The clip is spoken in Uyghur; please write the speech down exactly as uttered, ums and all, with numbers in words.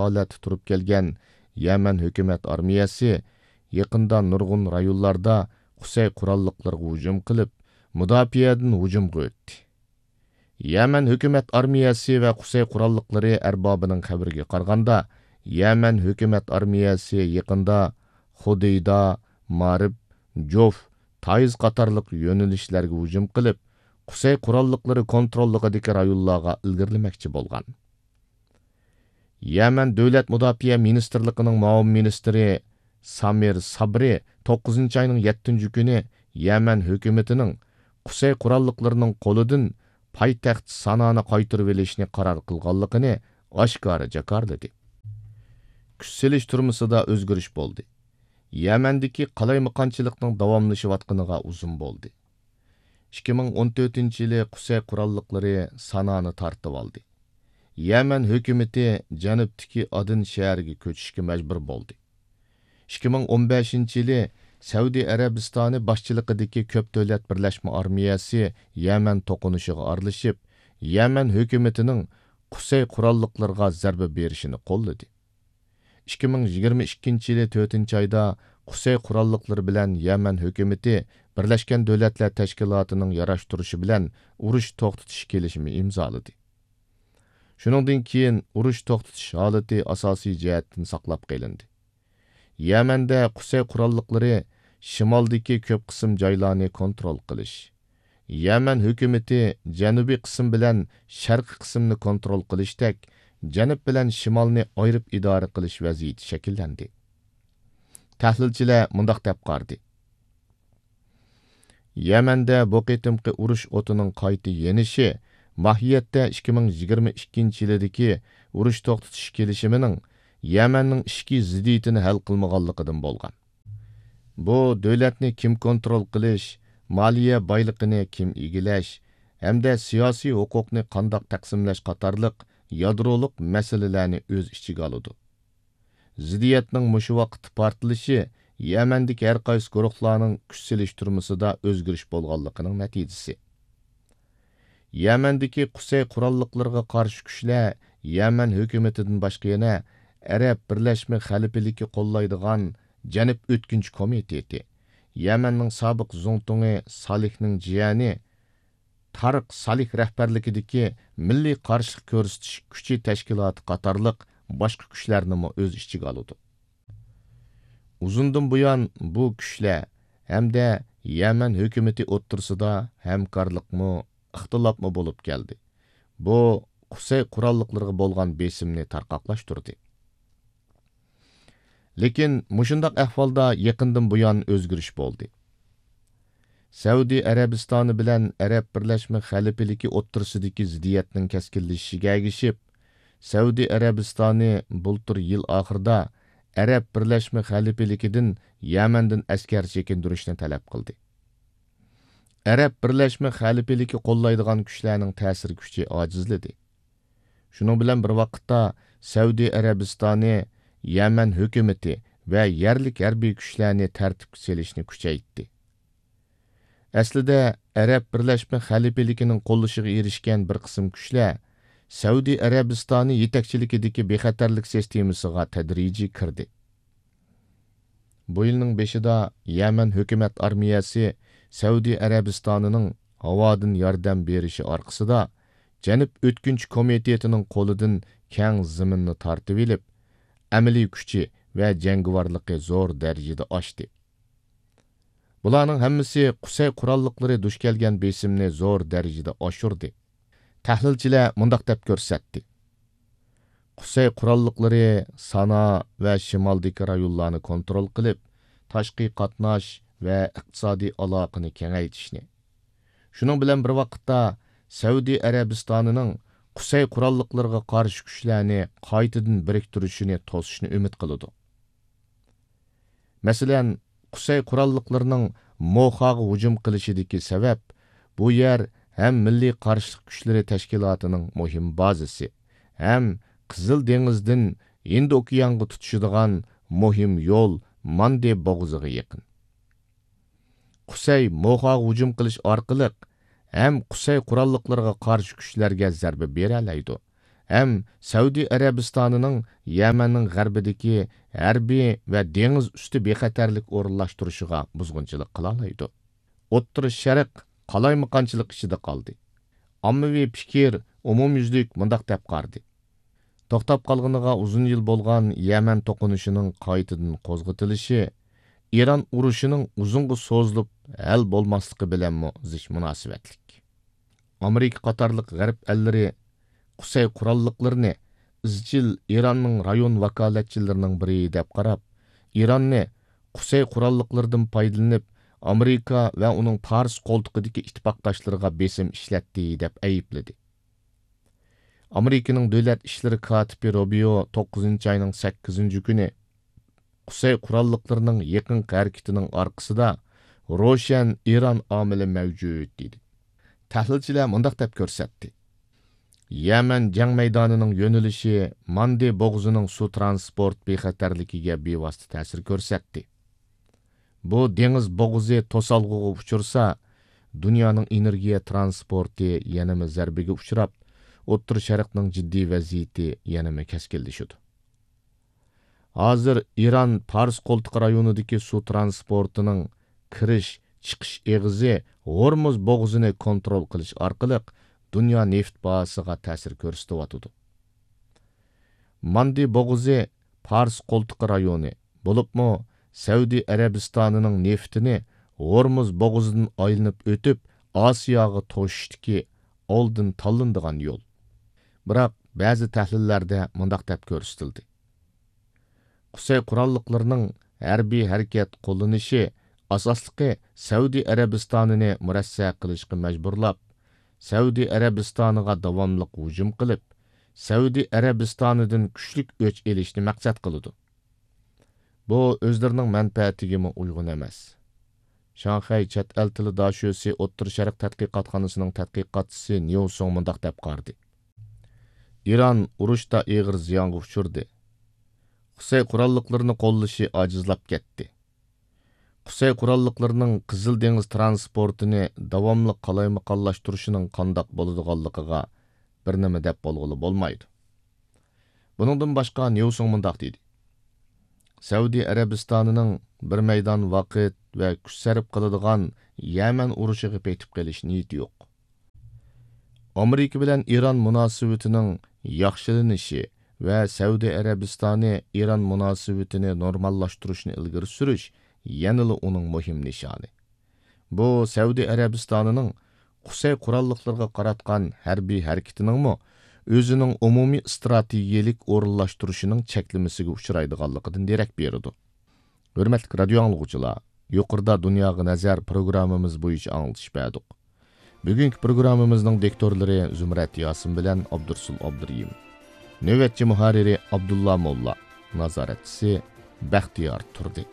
ھالەتتە تۇرۇپ كەلگەن يەمەن ھۆكۈمەت ئارمىيەسى يېقىندا نۇرغۇن رايونلاردا قۇسەي قوراللىقلىرىغا ھۇجۇم قىلىپ، مۇداپىئەدىن ھۇجۇمغا ئۆتتى. يەمەن ھۆكۈمەت ئارمىيەسى ۋە قۇسەي قوراللىقلىرى ئەربابىنىڭ خەۋىرىگە قارىغاندا، يەمەن ھۆكۈمەت ئارمىيەسى يېقىندا خۇدېيدا، مارىب، جوف، تايىز قاتارلىق يۆنىلىشلەرگە ھۇجۇم قىلىپ، قۇسەي قوراللىقلىرى كونتروللۇقىدىكى رايونلارغا ئىلگىرىلىمەكچى بولغان. يەمەن دۆلەت مۇداپىئە مىنىستىرلىقىنىڭ مۇئاۋىن مىنىستىرى سامىر سابرى توققۇزىنچى ئاينىڭ يەتتىنچى كۈنى يەمەن ھۆكۈمىتىنىڭ قۇسەي قوراللىقلىرىنىڭ قولىدىن پايتەخت سانانى قايتۇرۇۋېلىشنى قارار قىلغانلىقىنى ئاشكارا جاكارلىدى. كۈچ سېلىشتۇرمىسىدا ئۆزگىرىش بولدى. يەمەندىكى قالايمىقانچىلىقنىڭ داۋاملىشىۋاتقىنىغا ئۇزۇن بولدى. ئىككى مىڭ ئون تۆتىنچى يىلى قۇسەي قوراللىقلىرى سانانى تارتىۋالدى. يەمەن ھۆكۈمىتى جەنۇبتىكى ئادېن شەھىرىگە كۆچۈشكە مەجبۇر بولدى. ئىككى مىڭ ئون بەشىنچى يىلى سەئۇدى ئەرەبىستانى باشچىلىقىدىكى كۆپ دۆلەت بىرلەشمە ئارمىيەسى يەمەن توقۇنۇشىغا ئارىلىشىپ، يەمەن ھۆكۈمىتىنىڭ قۇسەي قوراللىقلىرىغا زەربە بېرىشىنى قوللىدى. ئىككى مىڭ يىگىرمە ئىككىنچى يىلى تۆتىنچى ئايدا قۇسەي قوراللىقلىرى بىلەن يەمەن ھۆكۈمىتى بىرلەشكەن دۆلەتلەر تەشكىلاتىنىڭ ياراشتۇرۇشى بىلەن ئۇرۇش توختىتىش كېلىشىمى ئىمزالىدى. شۇنىڭدىن كېيىن ئۇرۇش توختىتىش ھالىتى ئاساسىي جەھەتتىن ساقلاپ قېلىندى. يەمەندە قۇسەي قوراللىقلىرى شىمالدىكى كۆپ قىسىم جايلارنى كونترول قىلىش، يەمەن ھۆكۈمىتى جەنۇبىي قىسىم بىلەن شەرقىي قىسىمنى كونترول قىلىشتەك، جەنۇب بىلەن شىمالنى ئايرىپ ئىدارە قىلىش ۋەزىيىتى شەكىللەندى. تەھلىلچىلەر مۇنداق دەپ قارىدى: يەمەندە بۇ قېتىمقى ئۇرۇش ئوتىنىڭ قايتا يېنىشى ماھىيەتتە ئىككى مىڭ يىگىرمە ئىككىنچى يىلىدىكى ئۇرۇش توختىتىش كېلىشىمىنىڭ يەمەننىڭ ئىچكى زىددىيىتىنى ھەل قىلمىغانلىقىدىن بولغان. بۇ دۆلەتنى كىم كونترول قىلىش، مالىيە بايلىقىنى كىم ئىگىلەش ھەمدە سىياسىي ھوقۇقنى قانداق تەقسىملەش قاتارلىق يادرولۇق مەسىلىلەرنى ئۆز ئىچىگە ئالىدۇ. زىددىيەتنىڭ مۇشۇ ۋاقىتتا پارتلىشى يەمەندىكى ھەر قايسى گۇرۇھلارنىڭ كۈچ سېلىشتۇرمىسىدا ئۆزگىرىش بولغانلىقىنىڭ نەتىجىسى. يەمەندىكى قۇسەي قوراللىقلىرىغا قارشى كۈچلەر يەمەن ھۆكۈمىتىدىن باشقا يەنە ئەرەب بىرلەشمە خەلىپىلىكى قوللايدىغان جەنۇب ئۆتكۈنچى كومىتېتى، يەمەننىڭ سابىق زۇڭتۇڭى سالىھنىڭ جىيەنى تارىق سالىھ رەھبەرلىكىدىكى مىللىي قارشىلىق كۆرسىتىش كۈچى تەشكىلاتى قاتارلىق باشقا كۈچلەرنىمۇ ئۆز ئىچىگە ئالىدۇ. ئۇزۇندىن بۇيان بۇ كۈچلەر ھەمدە يەمەن ھۆكۈمىتى ئوتتۇرىسىدا ھەمكارلىقمۇ، ئىختىلاپمۇ بولۇپ كەلدى. بۇ قۇسەي قوراللىقلىرىغا بولغان بېسىمنى تارقاقلاشتۇردى. لېكىن مۇشۇنداق ئەھۋالدا يېقىندىن بۇيان ئۆزگىرىش بولدى. سەئۇدى ئەرەبىستانى بىلەن ئەرەب بىرلەشمە خەلىپىلىكى ئوتتۇرىسىدىكى زىددىيەتنىڭ كەسكىنلىشىشىگە ئەگىشىپ، سەئۇدى ئەرەبىستانى بۇلتۇر يىل ئاخىرىدا ئەرەب بىرلەشمە خەلىپىلىكىدىن يەمەندىن ئەسكەر چېكىندۈرۈشنى تەلەپ قىلدى. ئەرەب بىرلەشمە خەلىپىلىكى قوللايدىغان كۈچلەرنىڭ تەسىر كۈچى ئاجىزلىدى. شۇنىڭ بىلەن بىر ۋاقىتتا، سەئۇدى ئەرەبىستانى يەمەن ھۆكۈمىتى ۋە يەرلىك ھەربىي كۈچلەرنى تەرتىپكە سېلىشنى كۈچەيتتى. ئەسلىدە، ئەرەب بىرلەشمە خەلىپىلىكىنىڭ قوللىشىغا ئېرىشكەن بىر قىسىم كۈچلەر سەئۇدى ئەرەبىستانى يېتەكچىلىكىدىكى بىخەتەرلىك سىستېمىسىغا تەدرىجىي كىردى. بۇ يىلنىڭ بېشىدا يەمەن ھۆكۈمەت ئارمىيەسى سەئۇدى ئەرەبىستانىنىڭ ھاۋادىن ياردەم بېرىشى ئارقىسىدا، جەنۇب ئۆتكۈنچى كومىتېتىنىڭ قولىدىن كەڭ زېمىننى تارتىۋېلىپ، ئەمەلىي كۈچى ۋە جەڭگىۋارلىقى زور دەرىجىدە ئاشتى. بۇلارنىڭ ھەممىسى قۇسەي قوراللىقلىرى دۇچ كەلگەن بېسىمنى زور دەرىجىدە ئاشۇردى. تەھلىلچىلەر مۇنداق دەپ كۆرسەتتى: قۇسەي قوراللىقلىرى سانا ۋە شىمالدىكى رايونلارنى كونترول قىلىپ، تاشقى قاتناش ۋە ئىقتىسادىي ئالاقىنى كېڭەيتىشنى، شۇنىڭ بىلەن بىر ۋاقىتتا، سەئۇدى ئەرەبىستانىنىڭ قۇسەي قوراللىقلىرىغا قارشى كۈچلەرنى قايتىدىن بىرىكتۈرۈشىنى توسۇشنى ئۈمىد قىلىدۇ. مەسىلەن، قۇسەي قوراللىقلىرىنىڭ موخاغا ھۇجۇم قىلىشىدىكى سەۋەب، بۇ يەر ھەم مىللىي قارشىلىق كۈچلىرى تەشكىلاتىنىڭ مۇھىم بازىسى، ھەم قىزىل دېڭىزدىن ھىندى ئوكيانغا تۇتىشىدىغان مۇھىم يول ماندې بوغۇزىغا يېقىن. قۇسەي موخاغا ھۇجۇم قىلىش ئارقىلىق ھەم قۇسەي قوراللىقلىرىغا قارشى كۈچلەرگە زەربە بېرەلەيدۇ، ھەم سەئۇدى ئەرەبىستانىنىڭ يەمەننىڭ غەربىدىكى ھەربىي ۋە دېڭىز ئۈستى بىخەتەرلىك ئورۇنلاشتۇرۇشىغا بۇزغۇنچىلىق قىلالايدۇ. ئوتتۇرا شەرق قالايمىقانچىلىق ئىچىدە قالدى. ئاممىۋى پىكىر ئومۇميۈزلۈك مۇنداق دەپ قارىدى: توختاپ قالغىنىغا ئۇزۇن يىل بولغان يەمەن توقۇنۇشىنىڭ قايتىدىن قوزغىتىلىشى ئىران ئۇرۇشىنىڭ ئۇزۇنغا سوزۇلۇپ ھەل بولماسلىقى بىلەنمۇ زىچ مۇناسىۋەتلىك. ئامېرىكا قاتارلىق غەرب ئەللىرى قۇسەي قوراللىقلىرىنى ئىزچىل ئىراننىڭ رايون ۋاكالەتچىلىرىنىڭ بىرى دەپ قاراپ، ئىراننى قۇسەي قوراللىقلىرىدىن پايدىلىنىپ، ئامېرىكا ۋە ئۇنىڭ پارس قولتۇقىدىكى ئىتتىپاقداشلىرىغا بېسىم ئىشلەتتى دەپ ئەيىبلىدى. ئامېرىكىنىڭ دۆلەت ئىشلىرى كاتىپى روبىيو توققۇزىنچى ئاينىڭ سەككىزىنچى كۈنى قۇسەي قوراللىقلىرىنىڭ يېقىنقى ھەرىكىتىنىڭ ئارقىسىدا روشەن ئىران ئامىلى مەۋجۇت، دېدى. تەھلىلچىلەر مۇنداق دەپ كۆرسەتتى: يەمەن جەڭ مەيدانىنىڭ يۆنىلىشى ماندې بوغۇزىنىڭ سۇ ترانسپورت بىخەتەرلىكىگە بىۋاسىتە تەسىر كۆرسەتتى. بۇ دېڭىز بوغۇزى توسالغۇغا ئۇچرىسا، دۇنيانىڭ ئېنېرگىيە ترانسپورتى يەنىمۇ زەربىگە ئۇچراپ، ئوتتۇرا شەرقنىڭ جىددىي ۋەزىيىتى يەنىمۇ كەسكىنلىشىدۇ. ھازىر ئىران پارس قولتۇقى رايونىدىكى سۇ ترانسپورتىنىڭ كىرىش، چىقىش ئېغىزى ھورمۇز بوغۇزىنى كونترول قىلىش ئارقىلىق دۇنيا نېفىت باھاسىغا تەسىر كۆرسىتىۋاتىدۇ. ماندې بوغۇزى پارس قولتۇقى رايونى، بولۇپمۇ سەئۇدى ئەرەبىستانىنىڭ نېفىتىنى ھورمۇز بوغۇزىدىن ئايلىنىپ ئۆتۈپ، ئاسىياغا توشۇشتىكى ئالدىن تاللىنىدىغان يول. بىراق، بەزى تەھلىللەردە مۇنداق دەپ كۆرسىتىلدى: قۇسەي قوراللىقلىرىنىڭ ھەربىي ھەرىكەت قوللىنىشى ئاساسلىقى سەئۇدى ئەرەبىستانىنى مۇرەسسە قىلىشقا مەجبۇرلاپ، سەئۇدى ئەرەبىستانىغا داۋاملىق ھۇجۇم قىلىپ، سەئۇدى ئەرەبىستانىدىن كۈچلۈك ئۆچ ئېلىشنى مەقسەت قىلىدۇ. بۇ ئۆزلىرىنىڭ مەنپەئەتىگىمۇ ئۇيغۇن ئەمەس. شاڭخەي چەت ئەل تىلى داشۆسى ئوتتۇرا شەرق تەتقىقاتخانىسىنىڭ تەتقىقاتچىسى نيۇ سۇڭ مۇنداق دەپ قارىدى: ئىران ئۇرۇشتا ئېغىر زىيانغا ئۇچرىدى. قۇسەي قوراللىقلىرىنى قوللىشى ئاجىزلاپ كەتتى. قۇسەي قوراللىقلىرىنىڭ قىزىل دېڭىز ترانسپورتىنى داۋاملىق قالايمىقانلاشتۇرۇشىنىڭ قانداق بولىدىغانلىقىغا بىر نېمە دەپ بولغىلى بولمايدۇ. بۇنىڭدىن باشقا، نيۇسۇڭ مۇنداق دېدى: سەئۇدى ئەرەبىستانىنىڭ بىر مەيدان ۋاقىت ۋە كۈچ سەرپ قىلىدىغان يەمەن ئۇرۇشىغا پېتىپ قېلىش نىيىتى يوق. ئامېرىكا بىلەن ئىران مۇناسىۋىتىنىڭ ياخشىلىنىشى ۋە سەئۇدى ئەرەبىستانى ئىران مۇناسىۋىتىنى نورماللاشتۇرۇشنى ئىلگىرى سۈرۈش يەنىلا ئۇنىڭ مۇھىم نىشانى. بۇ سەئۇدى ئەرەبىستانىنىڭ قۇسەي قوراللىقلىرىغا قاراتقان ھەربىي ھەرىكىتىنىڭمۇ ئۆزىنىڭ ئومۇمىي ئىستراتېگىيەلىك ئورۇنلاشتۇرۇشىنىڭ چەكلىمىسىگە ئۇچرايدىغانلىقىدىن دېرەك بېرىدۇ. ھۆرمەتلىك رادىيو ئاڭلىغۇچىلار، يۇقىرىدا دۇنياغا نەزەر پروگراممىمىز بويىچە ئاڭلىتىش بەردۇق. بۈگۈنكى پروگراممىمىزنىڭ دىكتورلىرى زۇمرەت ياسىن بىلەن ئابدۇرسۇل ئابدۇرېھىم. نۆۋەتچى مۇھەررىرى ئابدۇللا موللا. نازارەتچىسى بەختىيار تۇردى.